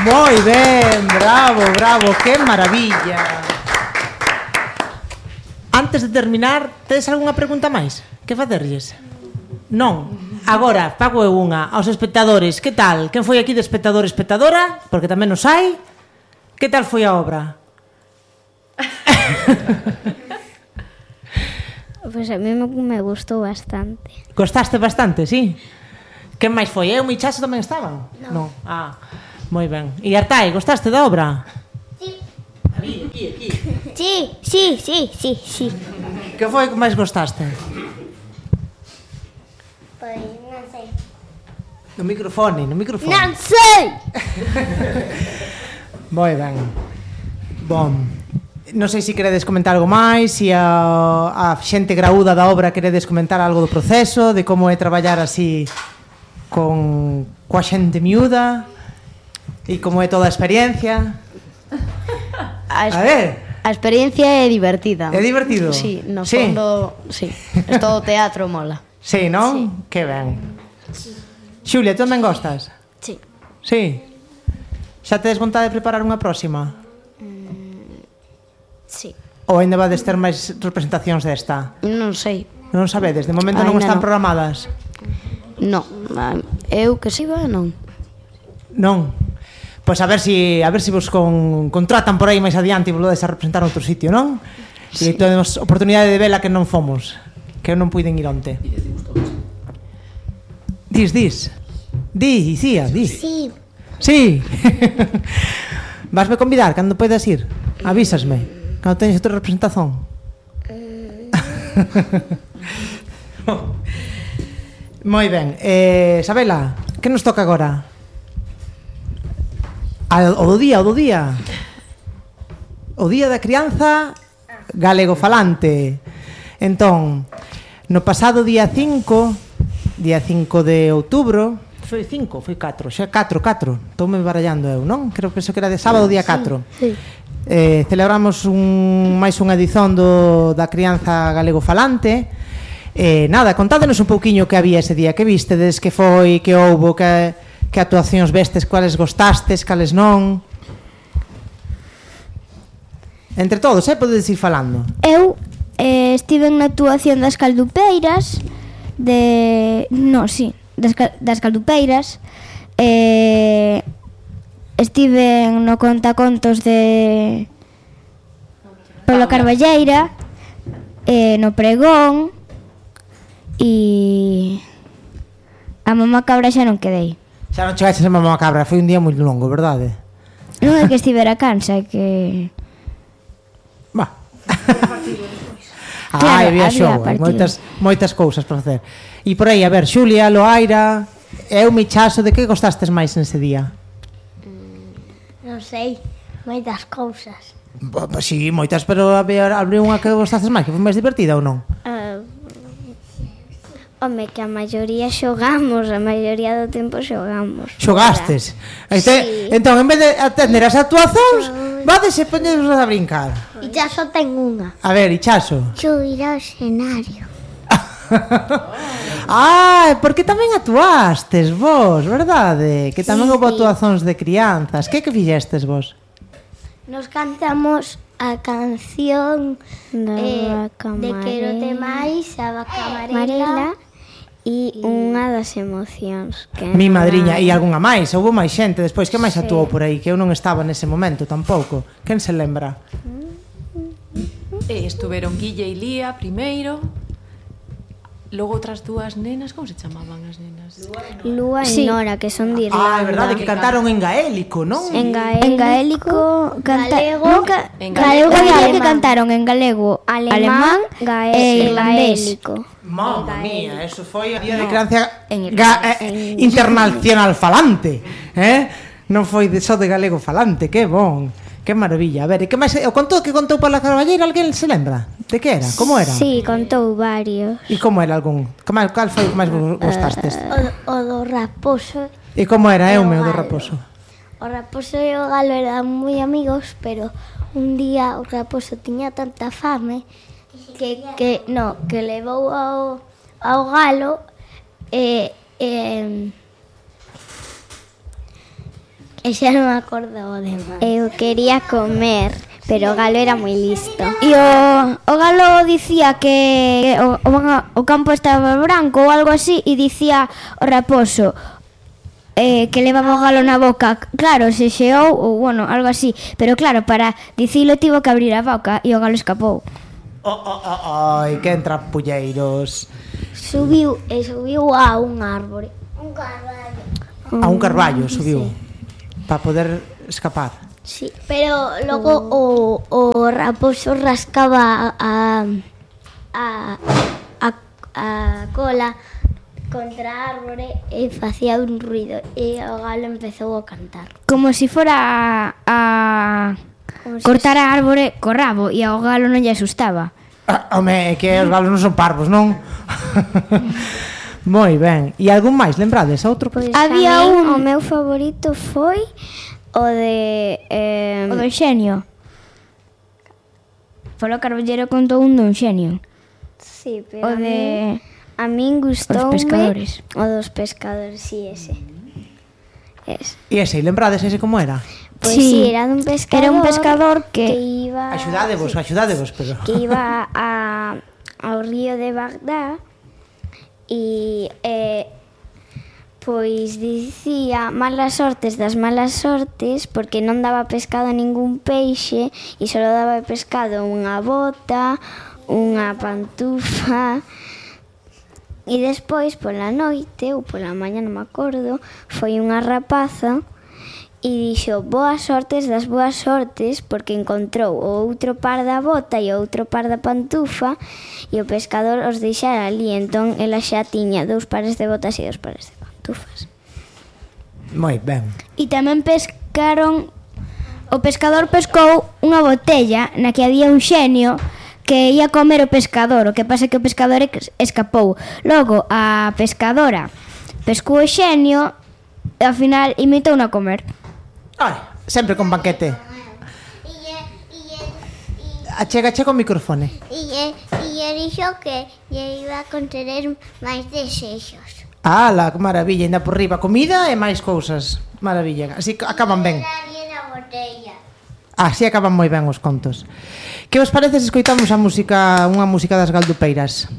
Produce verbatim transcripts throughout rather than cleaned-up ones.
Moi ben, bravo, bravo, que maravilla. Antes de terminar, tedes algunha pregunta máis? Que facerlles? Non. Agora, pago eu unha aos espectadores. Que tal? Quen foi aquí de espectador espectadora? Porque tamén nos hai. Que tal foi a obra? Pois a mí me, me gustou bastante. Gostaste bastante, sí? Quen máis foi? Eu e Chaso tamén estaban? Non. No. Ah, moi ben. E Artai, gostaste da obra? Sí. Aquí, aquí, aquí. Sí, sí, sí, sí, sí. Que foi que máis gostaste? Pois non sei. No microfone, no microfone. Non sei! Moi ben. Bom, non sei se queredes comentar algo máis, se a, a xente graúda da obra queredes comentar algo do proceso, de como é traballar así con coa xente miúda e como é toda a experiencia. A, a ver, a experiencia é divertida. É divertido? Sí, no sí. fondo, sí. Es todo teatro, mola. Sí, non? Sí. Que ben. Sí. Xulia, tú tamén gostas? Sí. Sí. Xa tedes vontade de preparar unha próxima? Mm, sí. Ou ainda vades ter máis representacións desta? Non sei. Non sabedes, de momento non Ainda están non. programadas. Non, eu que saiba non. Non. Pois a ver si a ver si vos con, contratan por aí máis adiante e volvedes a representar outro sitio, non? Sí. E temos oportunidade de vela que non fomos, que eu non puiden ir onte. Dis, dis. Di, Icía, di. Sí. Sí. Vasme convidar cando podes ir? Avísasme cando teñes outra representación. Moi ben. Eh, Sabela, que nos toca agora? O do día, o do día. O día da crianza galego falante. Entón, no pasado día cinco, día cinco de outubro, foi cinco, foi catro, xa catro, catro. Estoume barallando eu, non? Creo que penso que era de sábado día catro. Sí. Eh, celebramos un máis unha edición do da crianza galego falante. Eh, nada, contádenos un pouquiño que había ese día, que vistedes, que foi, que houbo, que que actuacións vestes, cuales gostastes, cales non. Entre todos, eh, podedes ir falando. Eu eh, estive na actuación das Caldupeiras de... No, sí, das, das Caldupeiras. Eh, estive no contacontos de Pablo Carballeira, eh, no pregón, e a mamá cabra xa non quedei. Xa non chegaches a mamá cabra, foi un día moi longo, verdade? Non é que estivera cansa, é que... Va. Ah, Claro, había había xogo, hai partido. moitas, moitas cousas para facer. E por aí, a ver, Xulia, Loaira, eu, Michaso, de que gostastes máis nese día? Non sei, moitas cousas. Bo, bo, sí, moitas, pero había unha que gostastes máis, que foi máis divertida ou non? Uh, home, que a maioría xogamos, a maioría do tempo xogamos. Xogastes? Este, Sí. Entón, en vez de atender as actuacións, vades e poñedos a brincar. E xa só ten unha. A ver, Ichaso. Subir ao escenario. Ah, porque tamén actuastes vos, verdade? Que tamén Sí, houve sí. actuacións de crianzas. Que que fixestes vos? Nos cantamos a canción Da eh, vaca de Quérote máis, a vaca amarela. Marela e unha das emocións que Mi madriña e algunha máis, houve máis xente despois que máis actuou por aí, que eu non estaba nese momento tampouco. Quen se lembra? E estuveron Guille e Lía primeiro. Logo outras dúas nenas, como se chamaban as nenas? Lúa e Sí. Nora, que son de Irlanda. Ah, é verdade que cantaron en gaélico, non? En gaélico, En gaélico, canta... galego, nunca... en galego galego e e que alemán. cantaron en galego, alemán, alemán gaé e e irlandés. gaélico. Mamma mía, eso foi a día de crianza en ga, eh, internacional falante, eh? Non foi de só de galego falante, que bon. Que maravilla. A ver, e que máis o contou que contou Paula Carballeira, alguén se lembra? De que era? Como era? Sí, contou varios. E como era algún? Que máis, cal foi o que máis vos gostastes? O, o do raposo. E como era, e eu o meu do galo. raposo? O raposo e o galo eran moi amigos, pero un día o raposo tiña tanta fame que, que no, que levou ao, ao galo e... e E xa non me acordo o demais. Eu quería comer, pero o galo era moi listo. E o, o galo dicía que o, o, o campo estaba branco ou algo así, e dicía o raposo eh, que levaba o galo na boca. Claro, se xeou ou, bueno, algo así. Pero claro, para dicilo tivo que abrir a boca e o galo escapou. Oh, oh, oh, ai, que trampulleiros. Subiu e subiu a un árbore. A un carballo subiu para poder escapar. Sí, pero logo o, o raposo rascaba a, a, a, a cola contra a árbore e facía un ruido e o galo empezou a cantar. Como se fora a, a cortar a árbore co rabo e ao galo non lle asustaba. Ah, home, é que os galos non son parvos, non? Moi ben. E algún máis, lembrades? Outro? Pois Había tamén un- o meu favorito foi o de eh, O do xenio. Polo Carballero contou un dun xenio. sí, pero O a de... min- a min gustoume pescadores. o dos pescadores, sí, ese. Es. E ese, lembrades ese como era? Pois sí, sí, era dun pescador. Era un pescador que... que iba Axudádevos, axudádevos, pero... que iba a, ao río de Bagdá e eh, pois dicía malas sortes das malas sortes porque non daba pescado a ningún peixe e só daba pescado unha bota, unha pantufa. E despois pola noite ou pola mañá, non me acordo, foi unha rapaza e dixo boas sortes das boas sortes porque encontrou o outro par da bota e o outro par da pantufa e o pescador os deixara ali, entón ela xa tiña dous pares de botas e dous pares de pantufas. Moi ben. E tamén pescaron... O pescador pescou unha botella na que había un xenio que ia comer o pescador. O que pasa é que o pescador ex- escapou. Logo, a pescadora pescou o xenio e ao final imitou a comer. Ai, sempre con banquete. Achega, achega o microfone. E lle dixo que lle iba a conceder máis desexos. Ala, que maravilla, ainda por riba. Comida e máis cousas. Maravilla. Así que acaban ben. Así acaban moi ben os contos. Que vos parece se escoitamos a música, unha música das Galdupeiras?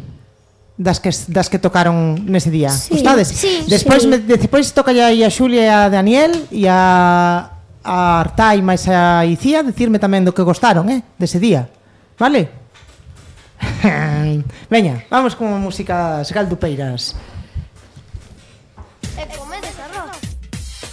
Das que, das que tocaron nese día. Sí, Gustades? sí, Despois, sí. me, despois toca aí a Xulia e a Daniel e a, a Artai máis a Icía decirme tamén do que gostaron, eh, dese día. Vale? Veña, vamos con a música das Galdupeiras. E